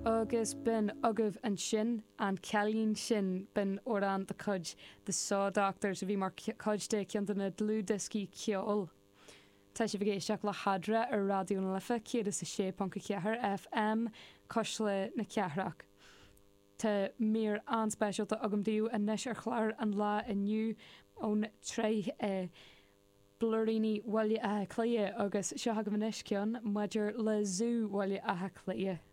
Agus b'in agaibh ansin An Cailín Sin, b'in amhrán de chuid The Saw Doctors a bhí mar chuid de cheann de na dlúthdhioscaí ceoil. Tá sibh ag éisteacht le hEadra ar Raidió na Life 106.4 FM, Cuisle na Cathrach. Tá mír an-speisialta agam daoibh anois ar chlár an lae inniu ón tsraith Blúiríní Bhaile Átha Cliath agus seo agaibh anois ceann maidir le Zú Bhaile Átha Cliath.